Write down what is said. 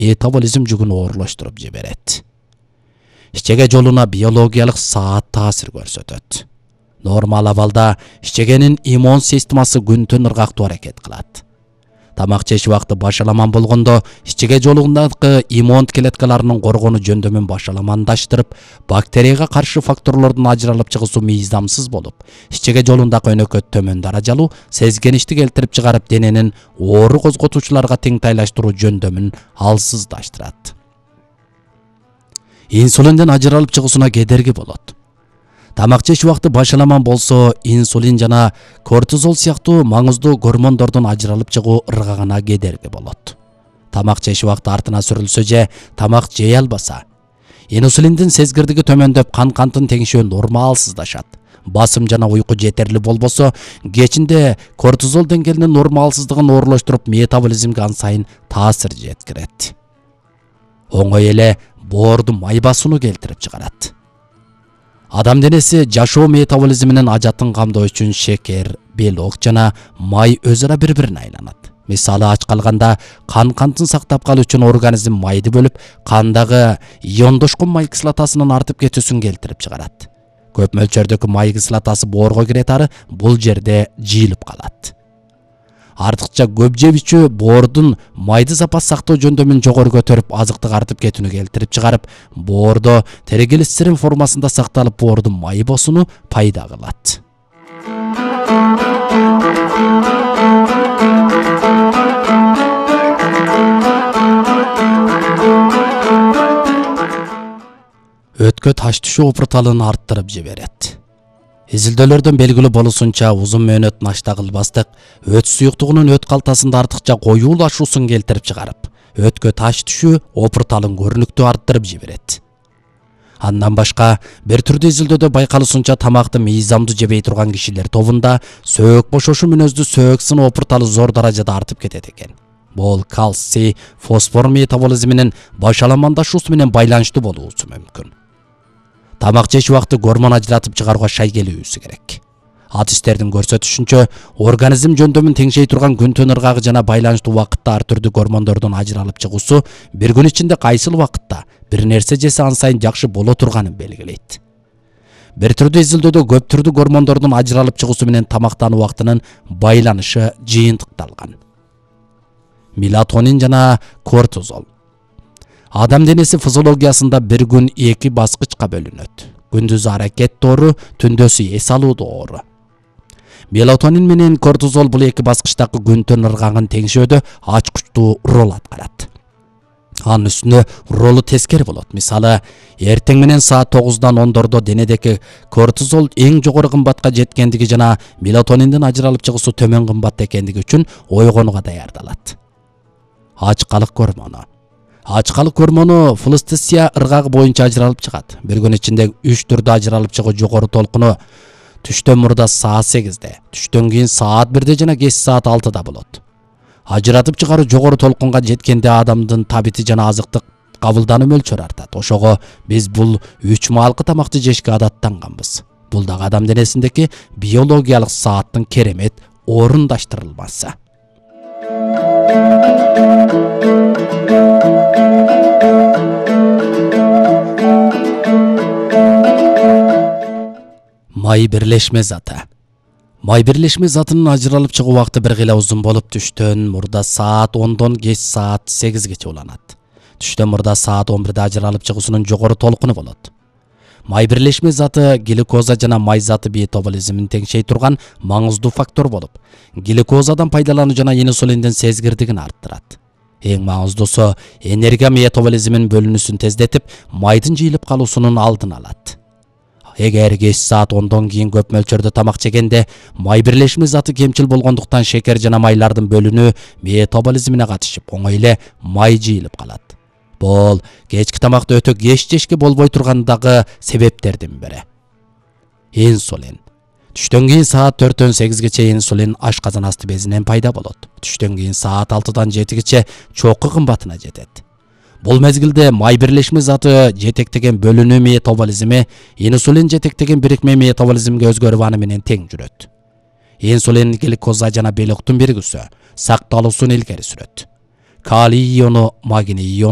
метаболизм жүгүн оорлоштуруп жиберет. Ичеге жолуна биологиялык саат таасир көрсөтөт. Нормал абалда ичегенин иммун системасы күн-түн ыргактуу аракет кылат. Тамак жеш убакыты башаламан болгондо ичеге жолундагы иммун клеткаларынын коргонуу жөндөмүн башаламандаштырып, бактерияга каршы факторлордун ажыралып чыгуусу мыйзамсыз болуп, ичеге жолундагы өнөкөт төмөн даражалуу сезгеничти келтирип чыгарып, дененин оору козготуучуларга теңтайлаштыруу жөндөмүн алсыздаштырат. Инсулинден ажыралып чыгуусуна кедерги болот. Тамак жеш убакыты башаламан болсо, инсулин жана кортизол сыяктуу маңыздуу гормондордун ажыралып чыгуу ыргагына кедерги болот. Тамак жеш убакыты артына сүрүлсө же тамак жей албаса, инсулиндин сезгирдиги төмөндөп, кан-кандын теңшөө нормалсыздашат. Басым жана уйку жетерли болбосо, кечинде кортизол деңгээлинин нормалсыздыгын оорлоштуруп, метаболизмге ан сайын таасир жеткирет. Оңой эле боорду май басууну келтирип чыгарат. Адам денеси жашоо метаболизминин ажатын камдоо үчүн шекер, белок жана май өзара бири-бирине айланат. Мисалы, ач калганда кан-кандын сактап калуу үчүн организм майды бөлүп, кандагы иондошкон май кислотасынын артып кетүүсүн келтирип чыгарат. Көп мөлчөрдөгү май кислотасы боорго кире тары бул жерде жыйылып калат. Артыкча көп жеп ичүү боордун майды запас сактоо жөндөмүн жогору көтөрүп, азыктык артып кетүүнү келтирип чыгарып, боордо триглицерин формасында сакталып, боордун май босууну пайда кылат. Өткө таш түшүү опурталын арттырып жиберет. Изилдөөлөрдөн белгилүү болуусунча, узун мөөнөт нашта кылбастык өт суюктугунун өт калтасында артыкча коюулашуусун келтирип чыгарып, өткө таш түшүү опурталын көрүнүктүү арттырып жиберет. Андан башка, бир түрдүү изилдөөдө байкалуусунча, тамакты мыйзамдуу жебей турган кишилер тобунда сөөк бошошу мүнөздүү сөөк сыны опурталы зор даражада артып кетет экен. Бул кальций, фосфор метаболизминин башаламандашуусу менен байланыштуу болуусу мүмкүн. Тамак жеш убакыты гормон ажыратып чыгарууга шай келүүсү керек. Адистердин көрсөтүшүнчө, организм жөндөмүн теңшей турган күн-түн ыргагы жана байланыштуу убакытта ар түрдүү гормондордун ажыралып чыгуусу бир күн ичинде кайсыл убакытта бир нерсе жесе ан сайын жакшы боло турганын белгилейт. Бир түрдүү изилдөөдө көп түрдүү гормондордун ажыралып чыгуусу менен тамактануу убактынын байланышы жыйынтыкталган. Мелатонин жана кортизол. Адам денеси физиологиясында бир күн 2 баскычка бөлүнөт. Күндүз аракет доору, түндөсү эс алуу доору. Мелатонин менен кортизол бул 2 баскычтагы күн-түн ыргагын теңшөөдө ачкычтуу роль аткарат. Анын үстүнө ролу тескери болот. Мисалы, эртең менен саат 9-дан 10-дордо денедеги кортизол эң жогору кымбатка жеткендиги жана мелатониндин ажыралып чыгуусу төмөн кымбат экендиги үчүн ойгонууга даярдалат. Ачкалык гормону. Ачкалык гормону флустесия ыргагы боюнча ажыралып чыгат. Бир күн ичинде 3 түрдө ажыралып чыгуу жогору толкуну түштөн мурда саат 8-де, түштөн кийин саат 1-де жана кеч саат 6-да болот. Ажыратып чыгаруу жогору толкунга жеткенде адамдын табити жана азыктык кабылдануу мөлчөрү артат. Ошого биз бул 3 маалкы тамакты жешке адаттанганбыз. Бул дагы адам денесиндеки биологиялык сааттын керемет орундаштырылмасы. Май бирлешме заты. Май бирлешме затынын ажыралып чыгуу убакыты бир кыйла узун болуп, түштөн мурда саат 10-дон кеч саат 8-гече уланат. Түштөн мурда саат 11-де ажыралып чыгуусунун жогору толкуну болот. Май бирлешме заты глюкоза жана май заты метаболизмин теңшей турган маңыздуу фактор болуп, глюкозадан пайдалануу жана инсулиндин сезгирдигин арттырат. Эң маңыздуусу энергия метаболизмин бөлүнүүсүн тездетип, майдын жыйылып калуусунун алдын алат. Эгер кеч саат 10-дон кийин көп мөлчөрдө тамак жегенде май бирлешме заты кемчил болгондуктан шекер жана майлардын бөлүнүү метаболизмине катышып, оңой эле май жыйылып калат. Бул кечки тамакты өтө кеч жешке болбой тургандагы себептердин бири. Инсулин. Түштөн кийин саат 4-төн 8-гече инсулин ашказан асты безинен пайда болот. Түштөн кийин саат 6-дан 7-гече чокку кымбатына жетет. Бул мезгилде май бирлешме заты жетектеген бөлүнүү метаболизми инсулин жетектеген бирикме метаболизмге өзгөрүп аны менен тең жүрөт. Инсулин глюкоза жана белоктун биригүүсү сакталуусун илгери сүрөт. калий иону, магний иону,